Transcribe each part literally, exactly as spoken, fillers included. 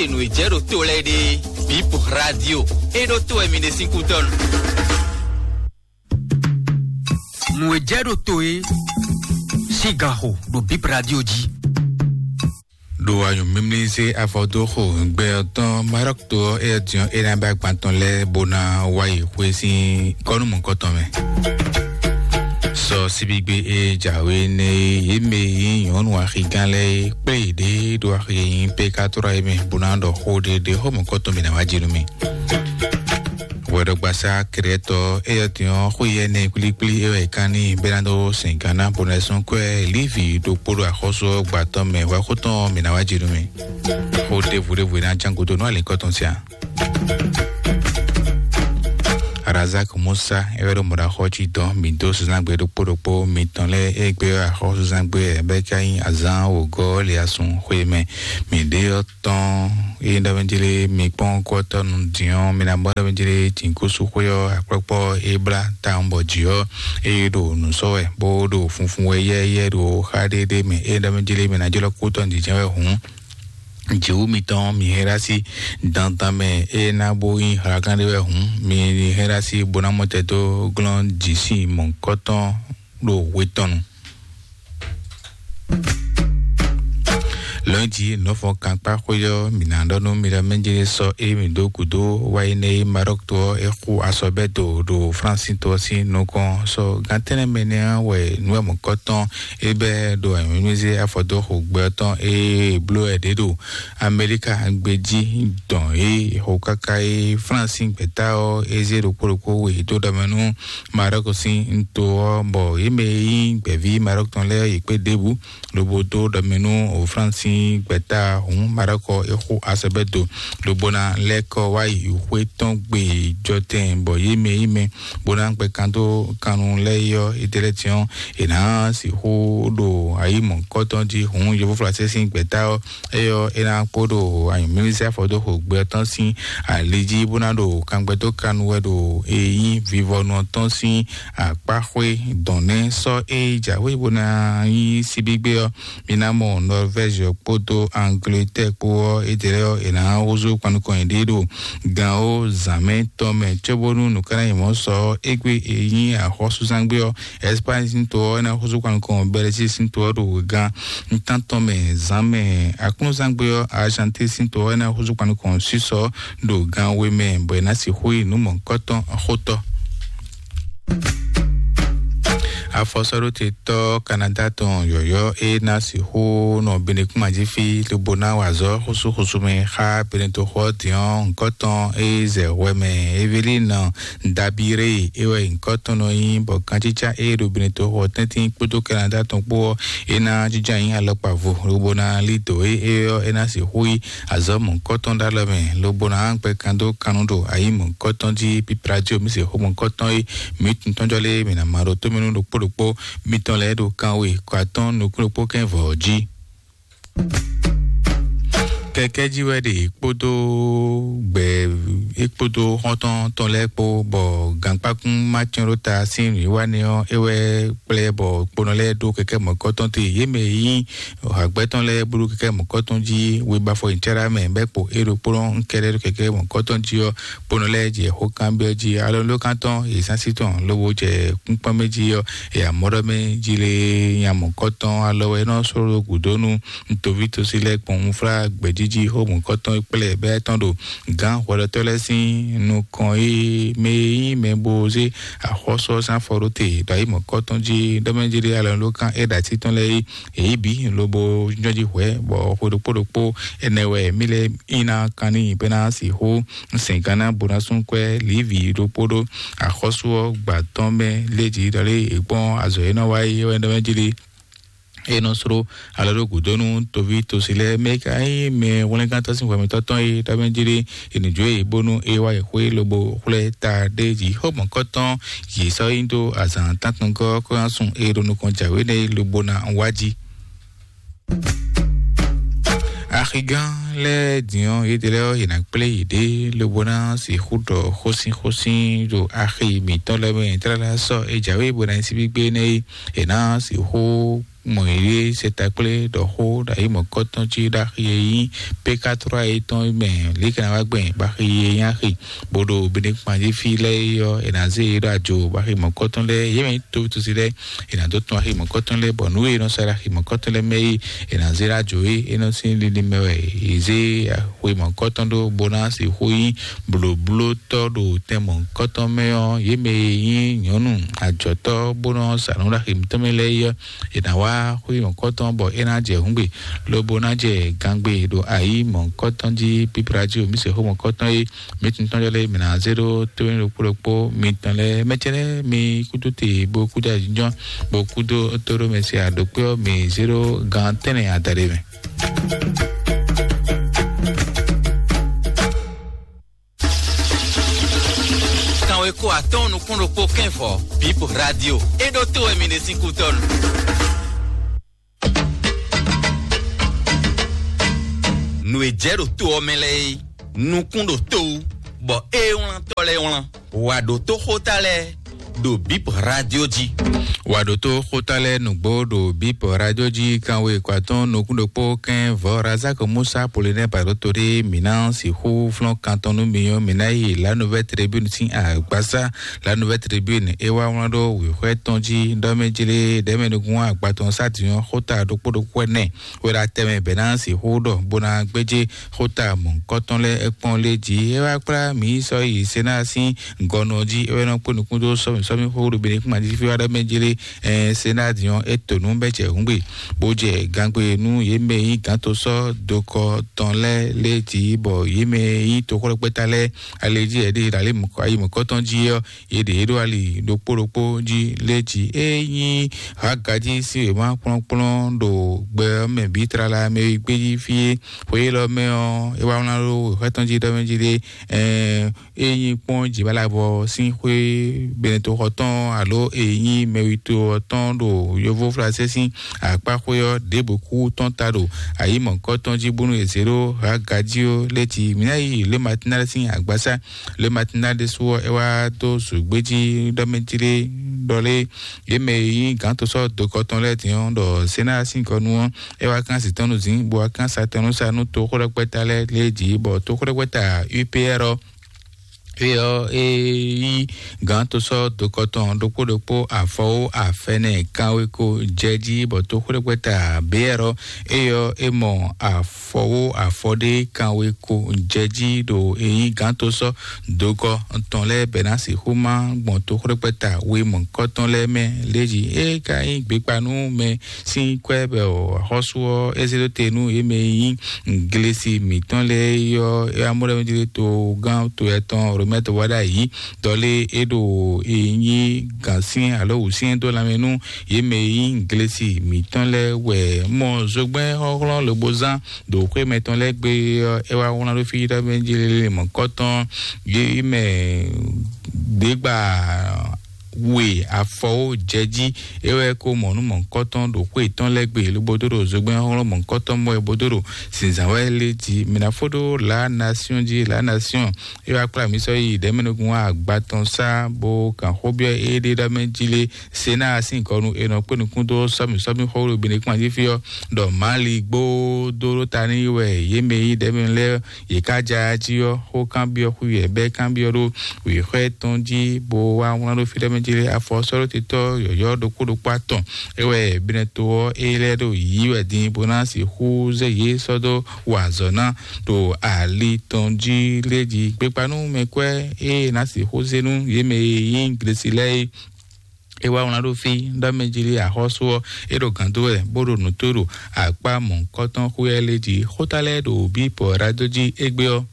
Nǔ e jɛ ɖo to lɛ́ɛ ɖe, Bip Radio, é ɖó to wɛ mi ɖe sín kútɔ́nu. Nǔ e jɛ ɖo to é sín ganxo ɖo Bip Radio jí. Ɖo anyǔmimlízé afɔdóxo gbɛ ɔ́ tɔn Marɔ́k to ɔ́, éyɛ́ din ɔ́, é ná bɛ́ agban tɔn lɛ́ɛ bó ná wá yi xwé sín kɔ́númɔ̌kɔtɔn mɛ. Sɔ síbígbe e jǎwe nɛ́ é, yě mɛ e nyí nyɔ̌nu axigán lɛ́ɛ é kplé yěɖée ɖo axi e nyí Pekatora é mɛ bó ná ɖɔ xó ɖé ɖé xó mɔ̌kɔtɔn mǐ ná wá jí nú mì. Hwɛɖɔgbasá Krɛtɔ éyɛ́ din ɔ́, xó yɛ nɛ kplíkplí é wɛ è kán n'i bɛ́ ná dó sɛn gǎn ná bó ná sún kwɛ́ Lívi ɖokpó ɖo axɔ́sú ɔ́ gbǎtɔ́ mɛ hwɛxó tɔn mǐ ná wá jí nú mì. Xó ɖěvo ɖěvo e ná ján gúdo nú alǐkɔ tɔn siá. Razak Musa é wɛ ɖo mɔ̌ɖaxɔ cí dɔn mǐ dó zǎngbe ɖokpó ɖokpó mitɔn lɛ́ɛ é gbé axɔ́súzǎngbe ɛ bɛ́ ká nyí azǎn wǒgɔ́ le asun xwé mɛ. Mǐ ɖe ɔ́ tɔn é ɖɔ mɛ jlé mi kpɔ́n kɔ́tɔ́nu din ɔ́, mi ná bɔ ɖɔ mɛ jlé jǐnkúsú xwé ɔ́ akpɔ́kpɔ́ é blá tawun bɔ jǐ ɔ́ é ɖo nǔ sɔ́ wɛ bó ɖo funfun wɛ yɛ́yɛ́ ɖo xá ɖé ɖé mɛ é ɖɔ mɛ jlé mi ná jlɔ́ kú tɔn jǐjɛ́n wɛ hǔn. Jǐwú mitɔn mi hɛn ɖó así dandan mɛ é ná bó nyí hlaglán ɖé wɛ hǔn, mi hɛn ɖó así bó ná mɔ tɛ dó glɔ́n jǐ sín mɔ̌hunkɔtɔn ɖo hwe tɔn nu. Lɔ̌nyijǐ nɔ́fɔkankpáxwé ɔ́, mǐ ná ɖɔ nú mi ɖɔ mɛ̌ jɛ́n sɔ́ é mǐ dó gǔdo wá yi nɛ́ é Marɔ́k to ɔ́ é xú asɔbɛ́do ɖo Flánsi to ɔ́ sín nukɔn. Sɔ gán tɛ́nnɛ mɛ nɛ́ ɔ́ wɛ nǔ e mɔ̌kɔtɔn é bɛ́ ɖo anyǔmímízé afɔdóxo gbɛ ɔ́ tɔn é bló wɛ ɖě ɖo Amɛlíka gbé jí dɔn é xo káká é Flánsi gbɛ̌ta ɔ́ é zé ɖokpó ɖokpó we dó ɖɔ mɛ nú Marɔ́k sín to ɔ́, bɔ yě mɛ e nyí gbɛ̌ví Marɔ́k tɔn lɛ́ɛ yě kpé ɖěbǔ lobo dó ɖɔ mɛ nú Flánsi gbɛ̌ta hǔn Marɔ́k ɔ́ é xú asɔbɛ́do lobo ná lɛ́ kɔ wá yi xwé tɔn gbe jɔtɛn, bɔ yě mɛ e nyí mɛ bó ná gbɛ kan dó kannú lɛ́ɛ é ɔ́, é ɖe lɛ́ɛ din ɔ́, è nǎ sixú ɖo ayǐ mɔ̌hunkɔtɔn jí hǔn yovóflásɛ́ sín gbɛ̌ta ɔ́, é ɔ́, é ná kpó ɖo anyǔmlísí afɔdóxo gbɛ ɔ́ tɔn sín ali jí bó ná ɖo kangbɛdókanu wɛ ɖo e nyí vivɔnu ɔ́ tɔn sín akpáxwé dɔn nɛ́. Sɔ́ e jǎwe bó ná nyí síbígbé ɔ́, mi ná mɔ Norvège kpódó Angleterre kpó ɔ́, é ɖě lɛ́ɛ ɔ́, è nǎ húzú kpan nukɔn yěɖée ɖo gan ó zǎnmɛ tɔn mɛ cóbónú nǔ ká ná nyí mɔ̌ sɔ ɔ́, égbé e nyí axɔ́súzángbé ɔ́, Espagne sín to ɔ́, é ná húzú kpan nukɔn Bɛlɛzík sín to ɔ́ ɖo gan ntán tɔn mɛ zǎnmɛ. Aklúnzángbé ɔ́, Argentine sín to ɔ́, é ná húzú kpan nukɔn Suisse ɔ́ ɖo gan we mɛ, bɔ è nǎ sixú yi nǔ mɔ̌hunkɔtɔn xótɔ́. Afɔsɔ́ɖótetɔ́ Kanada tɔn yɔ̌yɔ́ é ná sixú nɔ Benekúnmají fí lobo ná wa azɔ̌ xúsúxúsú mɛ xá Benetoxɔ din ɔ́, nǔkɔtɔn é zɛ hwɛ mɛ Evelina Dabiré é wɛ nyǐkɔ tɔn nɔ nyí, bɔ kancícá é ɖo Benetoxɔ tɛ́ntin kpódó Kanada tɔn kpó ɔ́, é ná jínjɔ́n ayǐ alɔkpa vo lobo ná lí dǒ é é ɔ́, é ná sixú yí azɔ̌ mɔ̌hunkɔtɔn ɖó alɔ mɛ, lobo ná gbɛ kan dó kannú ɖo ayǐ mɔ̌hunkɔtɔn jí. Píplá jí omi se xó mɔ̌hunkɔtɔn é mǐ tun tɔ́njɔ́ lé mǐ ná ma ɖo tómɛnú ɖokpó ɖokpó mitɔn lɛ́ɛ ɖo kanwe kɔ atɔ́ɔ́n nukún ɖokpó kɛ́n vɔ̌ jí. Kɛkɛ́ jí wɛ ɖe kpódó gbɛ é kpódó xɔ́ntɔn tɔn lɛ́ɛ kpó, bɔ gankpákún ma cyɔ́n ɖó ta sín nǔwiwa nɛ́ ɔ́, é wɛ kplé bɔ kponɔ lɛ́ɛ ɖó kɛkɛ́ mɔ̌kɔtɔn te. Yě mɛ e nyí hǎgbɛ́ tɔn lɛ́ɛ bó ɖó kɛkɛ́ mɔ̌kɔtɔn jí we ba afɔ nyi cáɖá mɛ bɛ́ kpo é ɖokpónɔ kɛ́ɖɛ́ ɖó kɛkɛ́ mɔ̌kɔtɔn jí ɔ́, kponɔ lɛ́ɛ jɛ xó kanbyɔ́ jí. Alɔnulókan tɔn yě zán sí tɔn lobo jɛ kúnkpɔ́n mɛ jí ɔ́, yě amɔ̌ ɖɔ mɛ jí lé nya mɔ̌kɔtɔn alɔ wɛ é nɔ sló ɖó gǔdo nú toví tosí lɛ́ɛ gbɔn unflá gbɛ̌jíjí xó mɔ̌kɔtɔn kplé bɛ́ tɔn ɖo gǎn hwɛɖɔtɔ́ lɛ́ɛ sín nukɔn e mɛ e nyí mɛ bo zé axɔ́sú ɔ́ sín afɔ ɖó te ɖo ayǐ mɔ̌kɔtɔn jí ɖɔ mɛ jí lé alɔnulókan é ɖo así tɔn lɛ́ɛ é èyí bǐ lobo nyɔ́ jí hwɛ̌, bɔ xwe ɖokpó ɖokpó ɛnɛ wɛ mí lɛ́ɛ nyí ná kan n'i bɔ é ná sixú sɛn gán ná bó ná sú kwɛ́ Livi ɖokpó ɖó axɔ́sú ɔ́ gbǎ tɔn mɛ lé jí ɖɔ lé è kpɔ́n azɔ̌ e nɔ wa é wɛ ɖɔ mɛ jí lé. É nɔ sló alɔ ɖó gǔdo nú toví tosi lɛ́ɛ mɛ ka nyí mɛ hwlɛ́ngántɔ́ sín hwɛmɛtɔ́ tɔn e ɖɔ mɛ jí lé è nǐ jó e bónú é wá yi xwé lobo xwlɛ́ ta ɖé jí xó mɔ̌kɔtɔn yě sɔ́ nyi dó azǎn tántɔngɔ́ kó ná sun e ɖo nukɔn jǎwe nɛ́ é lobo ná wá jí. Axigán lɛ́ɛ din ɔ́, yědɛɛ lɛ́ɛ ɔ́, yě ná kplé yěɖée lobo ná sixú ɖɔ xósínxósín ɖo axi mǐtɔn lɛ́ɛ mɛ tlala sɔ́ é jǎwe bó ná nyí síbígbé nɛ́ é. È nǎ sixú mɔ yě sɛ takplé ɖɔ xó ɖo ayi mɔ̌kɔtɔn jí ɖo axi e nyí P quatre trois é tɔn mɛ, lě kɛ́ ná wá gbɛn bɔ axi e nyí axi bó ɖo Benekpan jí fí lɛ́ɛ é ɔ́, è nǎ zé yě ɖo ajo bɔ axi mɔ̌kɔtɔn lɛ́ɛ, yě mɛ nyí tóvítósi lɛ́ɛ, è nǎ dó tɔn axi mɔ̌kɔtɔn lɛ́ɛ, bɔ nǔ e è nɔ sa ɖo axi mɔ̌kɔtɔn lɛ́ɛ mɛ é, è nǎ zé ɖo ajo é, é nɔ sín linlin mɛ wɛ è zé xwe mɔ̌kɔtɔn ɖó bó ná sixú nyí blǒblótɔ́ ɖo tɛn mɔ̌kɔtɔn mɛ ɔ́, yě mɛ e nyí nyɔ̌nu ajɔ̌tɔ́ bó nɔ sa nǔ ɖo axi mǐtɔn mɛ lɛ́ɛ é ɔ́, è nǎ wá xwé mɔ̌kɔtɔn bɔ é ná jɛ hǔngbe, lobo ná jɛ gangbe ɖo ayi mɔ̌kɔtɔn jí. Pípla jí omi se xó mɔ̌kɔtɔn é, mǐ tɔn lɛ́ɛ mǐ ná zé ɖó tónú ɖokpó ɖokpó mitɔn lɛ́ɛ. Mɛ ce lɛ́ɛ mi kúdó te bó kúdó ajínjɔ́n bó kúdó tóɖó mɛ se aɖǒkpé ɔ́, mǐ zé ɖó gan tɛ́nnɛ adaɖé mɛ. Kanweko atɔ́ɔ́n nukún ɖokpó kɛ́nvɔ, Bip Radio. É ɖó tó wɛ mi ɖe sín kútɔ́nu. Nǔ e jɛ ɖo to ɔ́ mɛ lɛ́ɛ é, nukún ɖo to wú, bɔ é wlán tɔ́ lɛ́ɛ wlán. Wǎ ɖó tó xóta lɛ́ɛ ɖo Bip Radio jí. Wǎ ɖó tó xóta lɛ́ɛ nǔgbó ɖo Bip Radio jí. Kanwe kɔ atɔ́ɔ́n nukún ɖokpó kɛ́n vɔ̌ Razak Musa Polinɛ Baɖó to ɖé mǐ ná sixú flɔ́n kan tɔn nú mi ɔ́, mǐ ná yi La Nouvelle Tribune sín agbasá. La Nouvelle Tribune é wá wlán ɖó wěxwɛ́ tɔn jí ɖɔ mɛ jlé ɖɛ̌mɛ nukún agbatɔn sádìyɔn xóta ɖokpó ɖokpó ɛnɛ wɛ ɖo atɛ mɛ bɛ̌ ná sixú ɖɔ bó ná gbéjé xóta mɔ̌hunkɔtɔn lɛ́ɛ é kpɔ́n lé jí. É wá kplá mǐ yi sɔ́ yi Senáa sín gɔnɔ jí, é wɛ nɔ kpó nukún dó sɔ́mì sɔ́mì xó ɖo Benekúnma jí fí wá ɖɔ mɛ jlé. Ɛn Senáa din ɔ́, é to nǔ bɔ é jɛ hǔngbe, bó jɛ gangbe nú yě mɛ e nyí gǎn to sɔ́ dokɔ tɔn lɛ́ɛ lé jí, bɔ yě mɛ e nyí toxwlɛ́kpɛ́ta lɛ́ɛ ali jí yě ɖe ɖo ayi mɔ̌kɔtɔn jí ɔ́, yě ɖě ɖo ali ɖokpó ɖokpó jí lé jí. É nyí Hagají sín wěma kplɔ́nkplɔ́n ɖo gbɛ ɔ́ mɛ bǐ tlala mɛ e gbé jí fí é. Xwe élɔ́ mɛ ɔ́, é wá wlán ɖó wěxwɛ́ tɔn jí ɖɔ mɛ jí ɖé, ɛɛ, é nyí kpɔ́n jǐbalabɔ sín xwé Benetoxɔ tɔn alo é nyí mɛwito ɔ́ tɔn ɖo yovóflásɛ́ sín akpáxwé ɔ́ ɖěbǔ kú tɔn ta ɖo ayǐ mɔ̌kɔ́ tɔn jí bónú è zě ɖó Hagají ɔ́ lɛ́ɛ jí. Mǐ ná yi Le Matinal sín agbasá. Le Matinal ɖésú ɔ́, é wá dó zǔgbéjí ɖɔ mɛ jí ɖé ɖɔ lé yě mɛ e nyí gǎn to sɔ́ dokɔ tɔn lɛ́ɛ din ɔ́ ɖɔ Senáa sín gɔnu ɔ́, é wá kán zǐ tɔn nú zǐn, bó wá kán sa tɔn nú sa nú toxóɖɛkpɛ́ta lɛ́ɛ lě jí, bɔ toxóɖɛkpɛ́ta U P R ɔ́, é ɔ́, é nyí gǎn to sɔ́ dokɔ tɔn ɖokpó ɖokpó afɔwó afɛnɛ kanweko jɛ jí, bɔ toxóɖɛkpɛ́ta B R ɔ́, é ɔ́, é mɔ afɔwó afɔ ɖé kanweko jɛ jí ɖo é nyí gǎn to sɔ́ dokɔ tɔn lɛ́ɛ bɛ́ ná sixú má gbɔn toxóɖɛkpɛ́ta we mɔ̌kɔtɔn lɛ́ɛ mɛ lě jí. É ka nyí gbekpa nú mɛ sín kwɛ́ bɔ axɔ́sú ɔ́ é zé dó te nú yě mɛ e nyí glesi mǐtɔn lɛ́ɛ é ɔ́, é wá mɔ ɖɔ mɛ jí ɖé togán to etɔn Romɛ́ wá ɖ'ayǐ, dɔ lé é ɖo e nyí gǎnsyɛ́n alo wǔsyɛ́n dó lanmɛ nú yě mɛ e nyí glesi mǐtɔn lɛ́ɛ wɛ. Mɔ zogbɛ́n xɔ́xlɔ́n lobo zán ɖo xwé mɛtɔn lɛ́ɛ gbe ɔ́, é wá wlán ɖó fí ɖɔ mɛ jí lélé mɔ̌kɔtɔn yě mɛ ɖěgba we afɔwó jɛ jí. É wɛ ko mɔ nú mɔ̌kɔtɔn ɖo xwé tɔn lɛ́ɛ gbe lobo dó ɖo zogbɛ́n xɔ́xlɔ́n mɔ̌kɔtɔn mɔ ɛ bó dó ɖo zǐnzǎn wɛ lé jí. Mi ná fó ɖó La Nation jí, La Nation é wá kplá mǐ sɔ́ yi ɖɛ̌mɛnukún agba tɔn sá bó kan xó byɔ́ é ɖé ɖɔ mɛ jí lé. Senáa sín gɔnu è nɔ kpé nukún dó sɔ́mi sɔ́mi xó ɖo Benekúnma jí fí ɔ́, ɖɔ Mali gbó dó ɖó ta n'i wɛ yě mɛ e nyí ɖɛ̌mɛ lɛ́ɛ yě ká ja jí ɔ́, xó kanbyɔ́ xwí wɛ bɛ́ kanbyɔ́ ɖó wěxwɛ́ tɔn jí, bó wá wlán ɖó fí ɖɔ mɛ jí lé. Afɔsɔ́ɖótetɔ́ yɔ̌yɔ́ ɖokpó ɖokpó atɔn é wɛ Benɛto ɔ́ é lɛ́ ɖo yǐ wɛ din bó ná sixú zé yě sɔ́ dó wa azɔ̌ ná ɖo ali tɔn jí lé jí. Gbekpanú mɛkwɛ́ é ná sixú zé nú yě mɛ e nyí Glesi lɛ́ɛ é. É wá wlán ɖó fí ɖɔ mɛ jí lé axɔ́sú ɔ́, é ɖo gǎn dó wɛ bó ɖo nǔ tó ɖo akpá mɔ̌hunkɔtɔn xwé ɔ́ lé jí. Xóta lɛ́ɛ ɖo bǐ pɔ̌ ɖadó jí égbé ɔ́,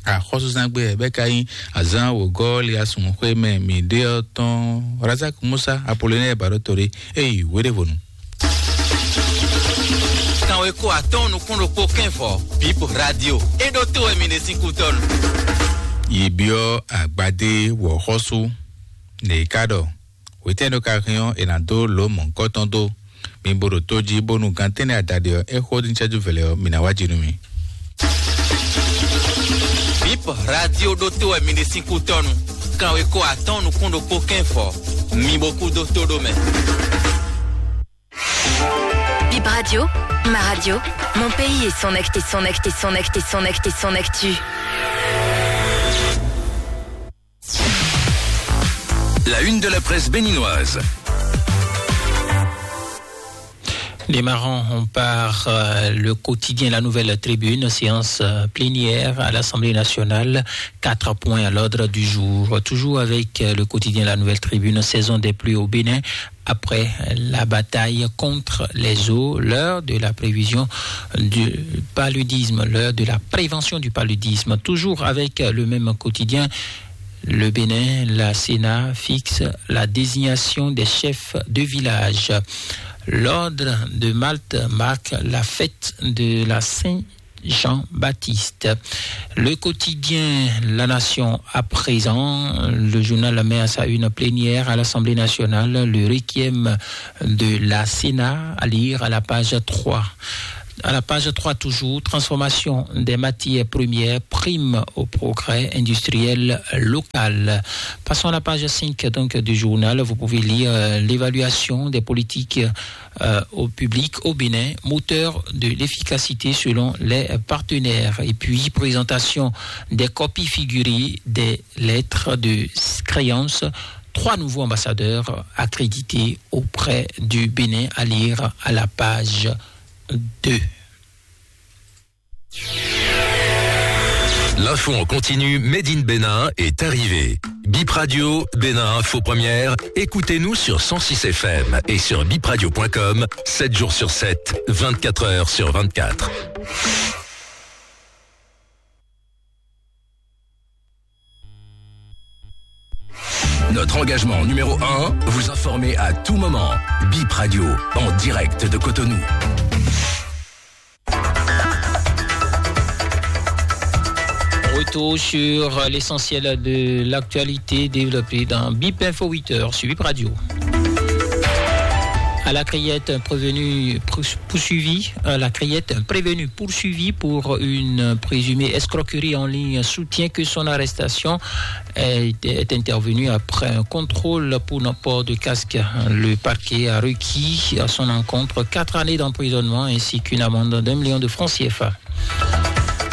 axɔ́súzán gbe wɛ bɛ́ ka nyí azǎn wǒgɔ́ Liasun xwé mɛ mǐ ɖe ɔ́ tɔn. Razak Musa Apolonɛ́ɛ Baɖótore é yi wěɖévonu. Kanweko atɔ́ɔ́n nukún ɖokpó kɛ́nvɔ, Bip Radio. É ɖó tó wɛ mi ɖe sín kútɔ́nu. Yi byɔ́ agbadé wɔ̌xɔ́sú. Nɛ̌ ka ɖɔ? Hwetɛ́nú ka hɛn ɔ́, è nǎ dó lǒ mɔ̌hunkɔtɔn dó. Mi bo ɖo tó jí bónú gan tɛ́nnɛ adaɖé ɔ́, é xó ní cɛ́jú vɛlɛ ɔ́, mǐ ná wá jí nú mi. Bip Radio ɖó tó wɛ mi ɖe sín kútɔ́nu. Kanweko atɔ́ɔ́n nukún ɖokpó kɛ́nvɔ. Mi bo kú dó tó ɖó mɛ. Radio, ma radio, mon pays et son acte et son acte et son acte et son acte et son actu. La une de la presse béninoise. Démarrons, on part euh, le quotidien La Nouvelle Tribune, séance euh, plénière à l'Assemblée nationale. Quatre points à l'ordre du jour. Toujours avec euh, le quotidien La Nouvelle Tribune, saison des pluies au Bénin. Après la bataille contre les eaux, l'heure de la prévision du paludisme, l'heure de la prévention du paludisme. Toujours avec euh, le même quotidien, le Bénin, la Sénat fixe la désignation des chefs de village. L'ordre de Malte marque la fête de la Saint-Jean-Baptiste. Le quotidien La Nation à présent, le journal met à sa une plénière à l'Assemblée nationale, le requiem de la Sénat à lire à la page trois. À la page trois toujours, transformation des matières premières, prime au progrès industriel local. Passons à la page cinq donc, du journal. Vous pouvez lire euh, l'évaluation des politiques euh, au public au Bénin, moteur de l'efficacité selon les partenaires. Et puis, présentation des copies figurées des lettres de créance. Trois nouveaux ambassadeurs accrédités auprès du Bénin à lire à la page deux. L'info en continu, Made in Bénin est arrivé. Bip Radio, Bénin Info Première, écoutez-nous sur cent six F M et sur bipradio point com, sept jours sur sept, vingt-quatre heures sur vingt-quatre. Notre engagement numéro un, vous informer à tout moment. Bip Radio, en direct de Cotonou. Retour sur l'essentiel de l'actualité développée dans Bip Info huit heures sur Bip Radio. À la Criette, un prévenu poursuivi, à la Criette, un prévenu poursuivi pour une présumée escroquerie en ligne soutient que son arrestation est, est intervenue après un contrôle pour non-port de casque. Le parquet a requis à son encontre quatre années d'emprisonnement ainsi qu'une amende d'un million de francs C F A.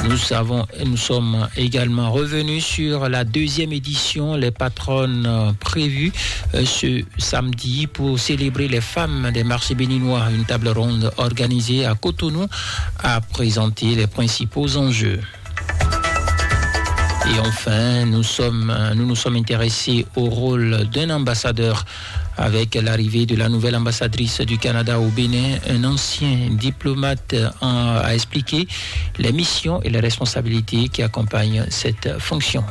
Nous savons, nous sommes également revenus sur la deuxième édition, les patronnes euh, prévues euh, ce samedi pour célébrer les femmes des marchés béninois. Une table ronde organisée à Cotonou a présenté les principaux enjeux. Et enfin, nous sommes, euh, nous nous sommes intéressés au rôle d'un ambassadeur avec l'arrivée de la nouvelle ambassadrice du Canada au Bénin, un ancien diplomate euh, a expliqué les missions et les responsabilités qui accompagnent cette fonction.